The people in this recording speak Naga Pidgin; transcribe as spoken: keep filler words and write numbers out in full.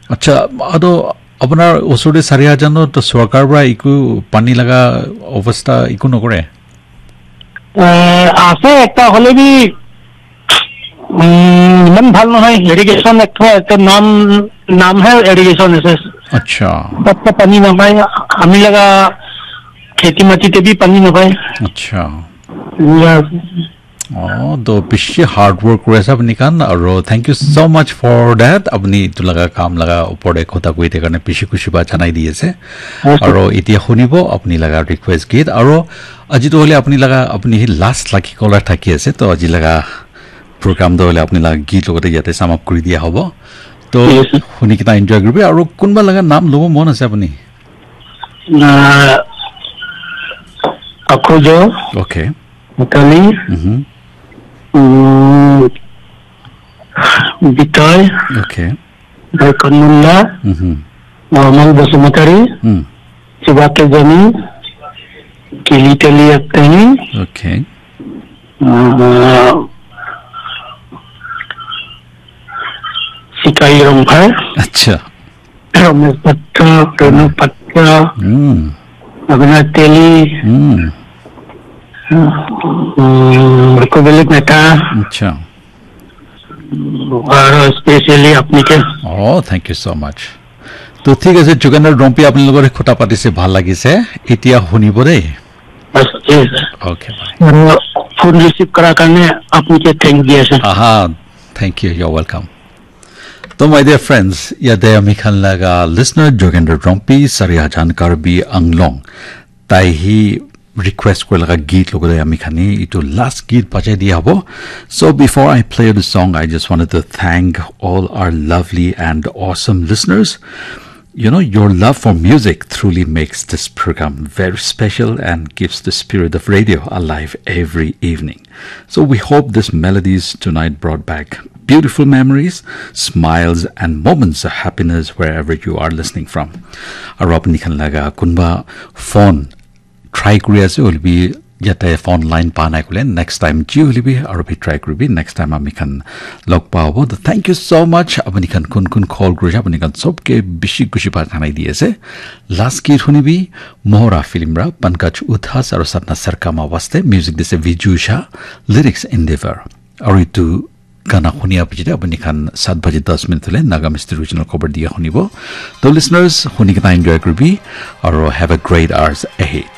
Acha, ado apnar osor te Sariajan to sorkar para iku pani laga obostha iku nokore? Eh, ase ekta hole bi, mm, iman bhal nohoi, irrigation ekta, ekta naam, naam hai irrigation ase. Acha. Tatte pani napai, ami laga kheti mati te bi pani napai. Acha. Eneka ase. Oh, to bishi hard work kuri ase apni khan, aro thank you so much for that. Apni itu laga kam laga upor te kotha koi thaka karne bishi khushi pa janai di ase. Aro itia hunibo apni laga request git, aro aji to hole apni laga, apni hi last lucky caller thaki ase, to aji laga program to hole apni laga git logote yate sum up kuri dia hobo. To huni kena enjoy kuribi, aro kunba laga naam lobo mon ase apni? Na, Akhujo. Okay. Mitali, Mhm. mm, Bitoy, Okay. Daikon Munda, Mhm. Normal Basumatari, Mm. Chibake Jani, Kili Teli Aktani, Okay. uh, Sikai Rongphai, Acha. Ramesh Patra, Renu Patra, Mm. Abhinav Teli, Mm. um, Rukubeli Mehta, Acha. Aro specially apni ke. Oh, thank you so much. To thik ase, Jogendra Rompi, apni logot kotha patise bhal lagise. Itia hunibo dei. Bas, yes, sir. Okay, bye. Aro phone receive kara karne apni ke thank diya, sir. Aha, thank you. You're welcome. To my dear friends, yate ami khan laga listener Jogendra Rompi, Sariajan Karbi Anglong. Tai hi request kuri laga git logote ami khan hi itu last git bajai dia hobo. So before I play the song, I just wanted to thank all our lovely and awesome listeners. You know, your love for music truly makes this program very special and keeps the spirit of radio alive every evening. So we hope these melodies tonight brought back beautiful memories, smiles, and moments of happiness wherever you are listening from. Aro apni khan laga kunba phone try kuri ase, hoile bi yate phone line pa nai koile, next time ji hoile bi aro bi try kuribi, next time ami khan log pa hobo. To thank you so much. Apni khan kun kun call kurise, apni khan sobke bishi khushi pa janai di ase. Last git hunibi, Mohra film ra Pankaj Udhas aro Satna Sarkama waste, music dise Viju Shah, lyrics Endeavor. Aro itu gana hunia pichete apni khan sat baji das minute hole Nagamese regional khobor dia hunibo. To listeners, huni kena enjoy kuribi, aro have a great hours ahead.